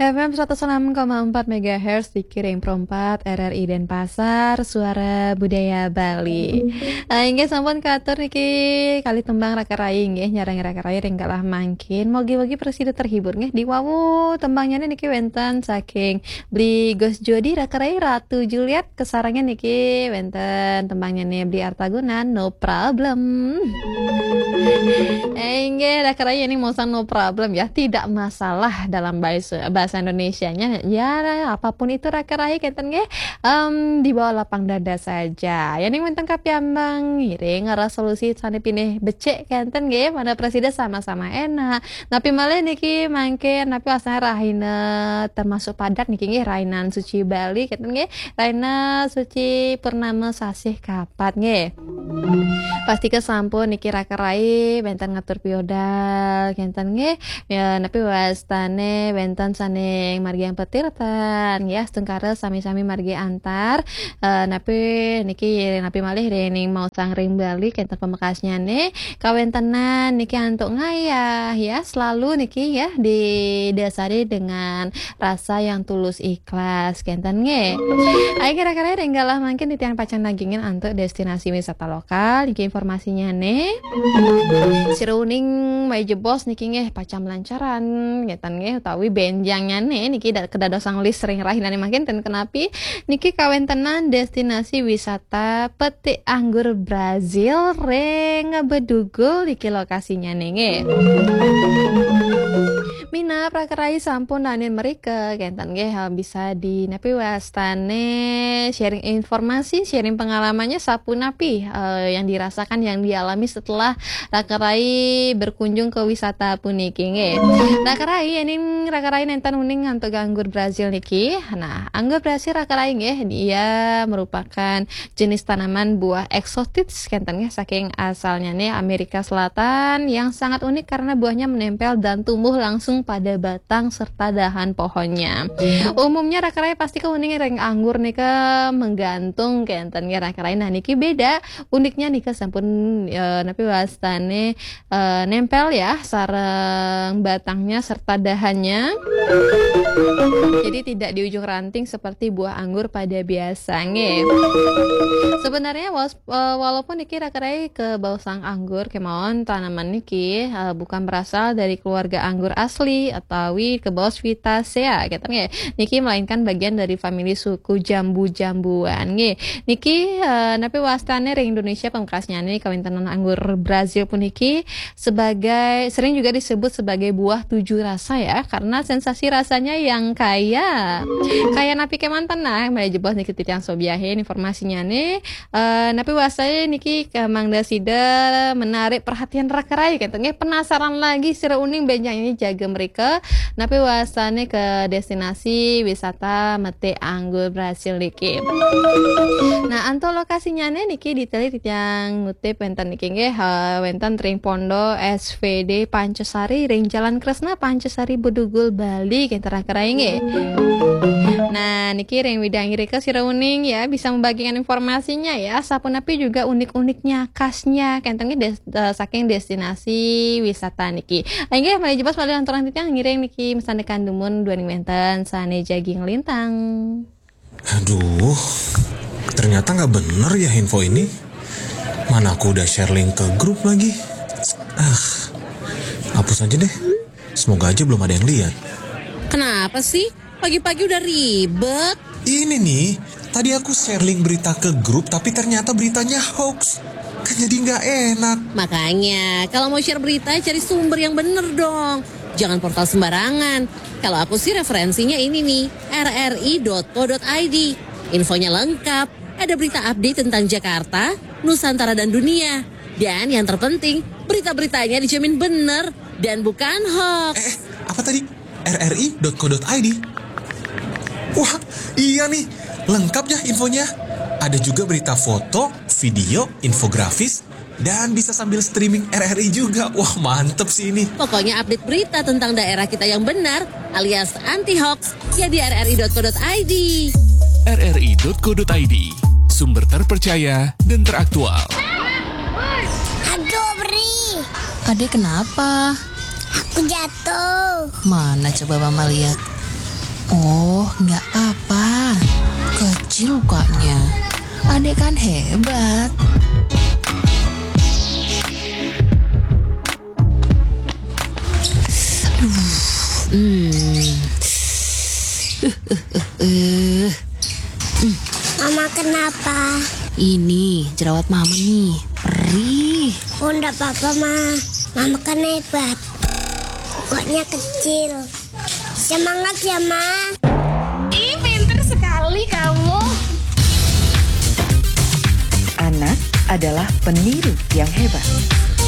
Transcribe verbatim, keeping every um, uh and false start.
F M seratus enam koma empat megahertz di Kiring Perempat, R R I Denpasar, Suara Budaya Bali. Ah, inggih sampun katur niki kali tembang Raka Rai nggih, nyareng Raka Rai ring galah mangkin. Mogi-mogi prasida terhibur nggih. Diwawu tembangnya niki wenten saking Bli Gus Jodi, Raka Rai, Ratu Juliet, kesarengan niki wenten tembangnya nih Bli Artaguna, No Problem. Eh, inggih, Raka Rai ini mau sang no problem ya, tidak masalah dalam bahasa, bahasa Indonesianya. Ya, apapun itu Raka Rai kenten nggih, em, di bawah lapang dada saja. Ya ning wenten kapiambang, ngiring resolusi sane pinih becik kenten nggih, mana presida sama-sama enak. Napi malih niki mangkin, napi wasana rahina termasuk padat niki nggih, rahinan suci Bali kenten nggih, rahina suci purnama sasih kapat nggih. Pastika sampun niki Raka Rai wenten ngatur piodal kenten nggih. Ya, napi wastane wenten saning margi petirtan ya, astungkara sami-sami margi antar. Eh, napi niki napi malih dening mau sang ring Bali kenten pamekasnyane, kawentenan niki antuk ngayah ya, selalu niki ya didasari dengan rasa yang tulus ikhlas kenten nggih. Ayo kira-kira ring galah mangkin titiang pacang nagingin antuk destinasi wisata lokal niki informasinya nih. Sira uning malih jebos niki nggih pacang lancaran kenten nggih, utawi benjangnya nih niki da-, kedadosan list ring rahinane mangkin ten kenapi niki kawentenan destinasi wisata petik anggur Brazil ring Bedugul niki lokasinya nih nggih. Minab Raka Rai sampun danin mrika kenten nggih, eh, bisa di napi wastane sharing informasi, sharing pengalamannya sapunapi, eh, yang dirasakan, yang dialami setelah Raka Rai berkunjung ke wisata puniki nggih. Raka Rai, ini Raka Rai nenten uning antuk anggur Brazil niki. Nah, anggur Brazil Raka Rai nggih, dia merupakan jenis tanaman buah eksotis kenten nggih, saking asalnya nih Amerika Selatan, yang sangat unik karena buahnya menempel dan tumbuh langsung pada batang serta dahan pohonnya. Umumnya Raka Rai pasti ke uning ring anggur nika menggantung kenten nggih Raka Rai. Nah niki beda, uniknya nika sampun, eh, napi wastane, eh, nempel ya sareng batangnya serta dahannya. Jadi tidak di ujung ranting seperti buah anggur pada biasa nggih. Sebenarnya was-, eh, walaupun niki Raka Rai ke bawah sang anggur kemawon, tanaman niki, eh, bukan berasal dari keluarga anggur asli atawi ke bawah Sweetaceae gitu nggih. Niki melainkan bagian dari famili suku jambu-jambuan nggih. Niki, eh, napi wastane ring Indonesia pamekasnyane kawentenan anggur Brazil puniki sebagai, sering juga disebut sebagai buah tujuh rasa ya, karena sensasi rasanya yang kaya. Kaya napi kemanten nah, malih jebos niki titiang sobiahin informasinya nih. Eh, napi wastane niki ke mangda sida menarik perhatian Raka Rai kenten nggih, penasaran lagi sira uning benjang ini jaga mereka. Napi wastane ke destinasi wisata metik anggur Brazil niki. Nah, antuk lokasinya nih niki detail titiang ngutip wenten niki nggih, eh, wenten ring Pondo S V D Pancasari ring Jalan Kresna Pancasari Bedugul Bali kenten Raka Rai nggih. Nah, niki ring widang irika sira uning ya bisa membagikan informasinya ya, sapunapi juga unik-uniknya, khasnya kenten nggih des-, eh, saking destinasi wisata niki. Inggih, malih jebos malih lanturang titiang ngiring niki mesandekan dumun duaning wenten sane jagi nglintang. Aduh, ternyata nggak bener ya info ini. Mana aku udah share link ke grup lagi. Ah, hapus aja deh. Semoga aja belum ada yang lihat. Kenapa sih? Pagi-pagi udah ribet. Ini nih, tadi aku share link berita ke grup tapi ternyata beritanya hoax. Kan jadi nggak enak. Makanya, kalau mau share berita, cari sumber yang bener dong. Jangan portal sembarangan. Kalau aku sih referensinya ini nih, R R I dot co dot I D. Infonya lengkap, ada berita update tentang Jakarta, Nusantara dan dunia. Dan yang terpenting, berita-beritanya dijamin bener dan bukan hoax. Eh, apa tadi? R R I dot co dot I D. Wah, iya nih, lengkap ya infonya. Ada juga berita foto, video, infografis, dan bisa sambil streaming R R I juga. Wah, mantep sih ini. Pokoknya update berita tentang daerah kita yang benar alias anti hoax ya di R R I dot co dot I D. R R I dot co dot I D, sumber terpercaya dan teraktual. Aduh, Bri. Adek kenapa? Aku jatuh. Mana coba Mama lihat? Oh, nggak apa-apa. Kecil lukanya. Adek kan hebat. Aduh, hmm. Eh, Mama kenapa? Ini jerawat Mama nih. Perih. Oh, ndak apa-apa, Ma. Mama kan hebat. Pokoknya kecil. Semangat ya, Ma. Ih, pinter sekali kamu. Anak adalah peniru yang hebat.